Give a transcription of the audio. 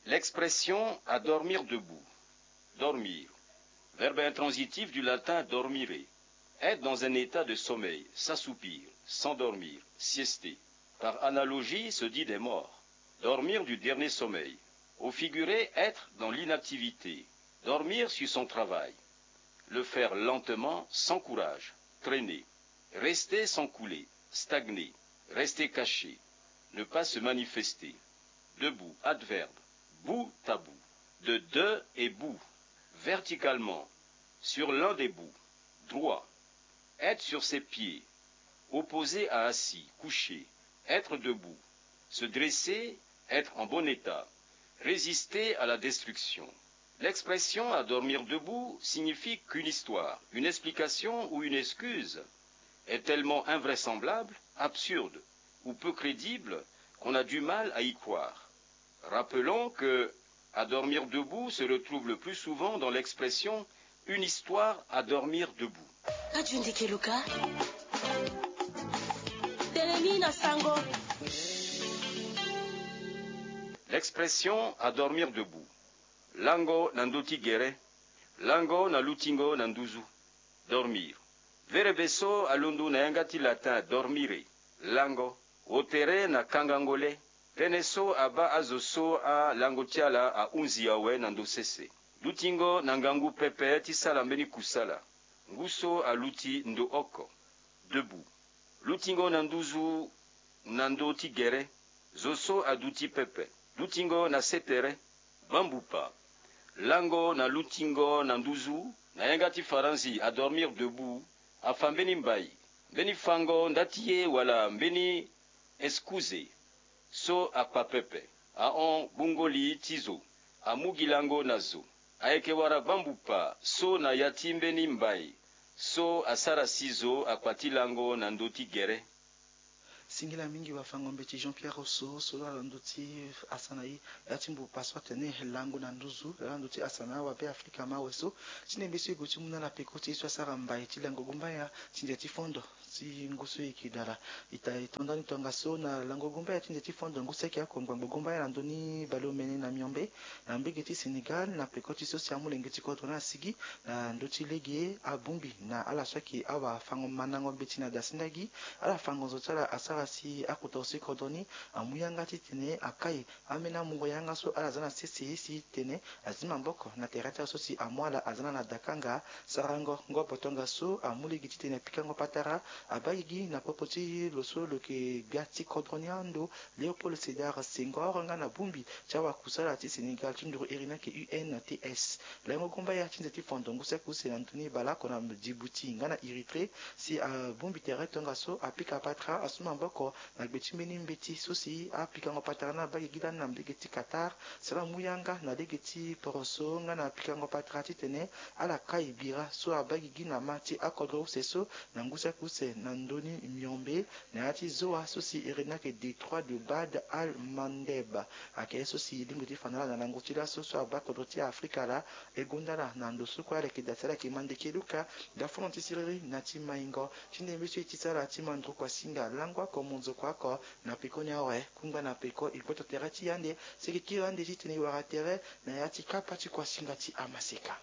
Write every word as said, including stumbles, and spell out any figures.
L'expression à dormir debout. Dormir. Verbe intransitif du latin dormire. Être dans un état de sommeil, s'assoupir, s'endormir, siester. Par analogie, se dit des morts. Dormir du dernier sommeil. Au figuré, être dans l'inactivité. Dormir sur son travail. Le faire lentement, sans courage. Traîner. Rester sans couler. Stagner. Rester caché. Ne pas se manifester. Debout, adverbe. Bout à bout. De deux et bout. Verticalement. Sur l'un des bouts. Droit. Être sur ses pieds. Opposé à assis, couché. Être debout. Se dresser, être en bon état. Résister à la destruction. L'expression à dormir debout signifie qu'une histoire, une explication ou une excuse est tellement invraisemblable, absurde ou peu crédible qu'on a du mal à y croire. Rappelons que à dormir debout se retrouve le plus souvent dans l'expression une histoire à dormir debout. Ka tue ndeke loka. Telemi na sango. L'expression à dormir debout. Lango na ndö ti gere. Lango na lutingo na nduzu. Dormir. Verbe so alondo na yanga ti latin dormire. Lango. Wo tere na kangango le. Tënë so abaa azo so alango ti ala ahunzi awe na ndo sese. Lutingo na ngangu pepe ti sala mbeni kusala. Ngu so aluti ndo oko. Debout. Lutingo na nduzu na ndö ti gere. Zo so aduti pepe. Lutingo na se tere. Bambupa. Lango na lutingo na nduzu na yanga ti faranzi à dormir debout. Afa mbeni mbai, mbeni fango nda ti ye wala mbeni excuse so akpa pepe. Ahon gbungo li ti zo. Amu gi lango na zo. Ayeke wara bambupa so na ya ti mbeni mbai so asara si zo akpa ti lango na ndö ti gere. Singila mingi wafango-mbeti Jean Pierre Rousseau so laa na ndö ti asa na e. Ya ti mbupa so atene lango na nduzu laa na ndö ti asa na awabe Afrika mawe so. Ti nde mbeni so e gue ti mu na ala peko ti e so asara mbai ti lango gumbaya ti nze ti fondo ti ngu so e yeke dala. Ita e to ndani tongaso na lango gumbaya ti nze ti fondo ngu so ayeke oko ngbangbo gumbaya na ndö ni baleomene na miombe na mbege ti Sénégal na peko ti so si amolenge ti kodro ni asigi na ndö ti lege abongbi na ala so ayeke awafango mandango mbeti na dasinda gi. Ala fango zo ti ala asara si akota zo ti kodro ni amu yanga titene akai ambeni amungo yanga so ala za na sese si tene azi maboko na tere ti ala so si amu ala aza na na dakanga. Sarango ngobo tongaso amu lege titene apikango patara abaa gigi na popo ti lo so lo yeke gbia ti kodro ni ando Léopold Sédar Senghor nga na bongbi ti awakusala ti Sénégal ti nduru iri ni ayeke U N T S. Lango gumbaya ti nze ti fondo ngu saki use na ndoni baleoko na Djibouti nga na Érythrée si abongbi tere tongaso apika patara asu maboko na gbe ti mbeni mbeti so si apikango patara ni abaa gigi lani na mbege ti Qatar. Si ala mu yanga na lege ti poroso nga na pikango patara titene ala kai bira so abaa gigi na ma ti akodro use so na ngu saki use na ndoni miombe na ya ti zoa so si iri ni ayeke Détroit de Bab al-Mandeb. Ayeke ye so si e lingbi ti fa na ala na lango ti laso so abaa kodro ti Afrika laa. E gonda ala na ndo so kue ala yeke daa si ala yeke ma ndeke luka. Daa fondro ti siriri na ti maingo ti nde mbeni so e tisa ala ti ma nduru kuasinga lango oko monzoko oko na peko ni awe. Kungba na peko e gboto tere ti e ande si e yeke kiri ande titene e wara tere na ya ti kapa ti kuasinga ti amaseka.